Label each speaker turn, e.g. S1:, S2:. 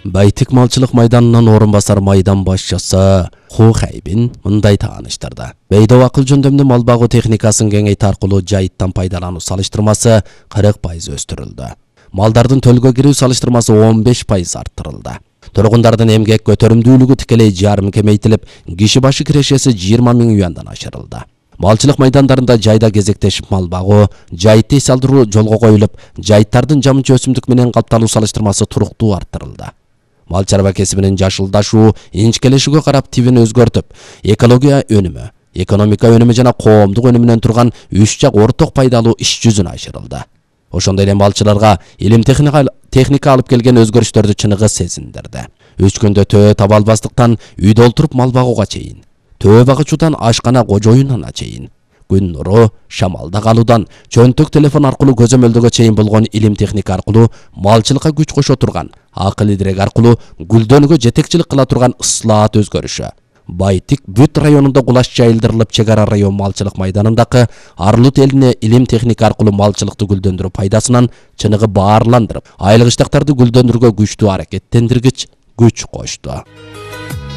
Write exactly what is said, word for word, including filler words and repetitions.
S1: Байтик малчылык майданынан орун басар майдан башчысы Ху Хайбин мындай тааныштырды. Бейдо акыл жөндөмдүү мал багуу техникасын кеңейтүү аркылуу жайыттан пайдалануу салыштырмасы кырк пайыз өстүрүлдү. Малдардын төлгө кирүү салыштырмасы он беш пайыз арттырылды. Тургундардын эмгек көтөрүмдүүлүгү тикелей жарым кемейтилип, киши башы кирешеси жыйырма миң юандан ашырылды. Малчылык майдандарында жайда кезектешип мал багуу, жайытты эс алдыруу жолго коюлуп, жайыттардын жамынча өсүмдүк менен капталуу салыштырмасы туруктуу арттырылды. Мал чарба кесибинин жашылдашуу, инчкелешүүгө карап тибин өзгөртүп, экология өнүмү, экономика өнүмү жана коомдук өнүмүнөн турган үч жак орток пайдалуу иш жүзүнө ашырылды. Ошондой эле малчыларга илим техника техника алып келген өзгөрүштөрдү чыныгы сезиндирди. Үч күндө төө таба албастыктан үйдө олтуруп мал багууга чейин, төө багычуудан ашкана кожоюнуна чейин, күн нуру, шамалда калуудан чөнтөк телефон аркылуу көзөмөлдөгө чейин болгон илим техника аркылуу малчылыкка күч кошо турган, акыл идирек аркылуу гүлдөнүүгө жетекчилик кыла турган ыслаат өзгөрүшү. Байтик бүт районунда кулаш жайылдырылып, чек ара район малчылык майданындагы Арлут элине илим техника аркылуу малчылыкты гүлдөндүрүү пайдасынан чыныгы баарландырып, айыл кыштактарды гүлдөндүрүүгө күчтүү аракеттендиргич күч кошту.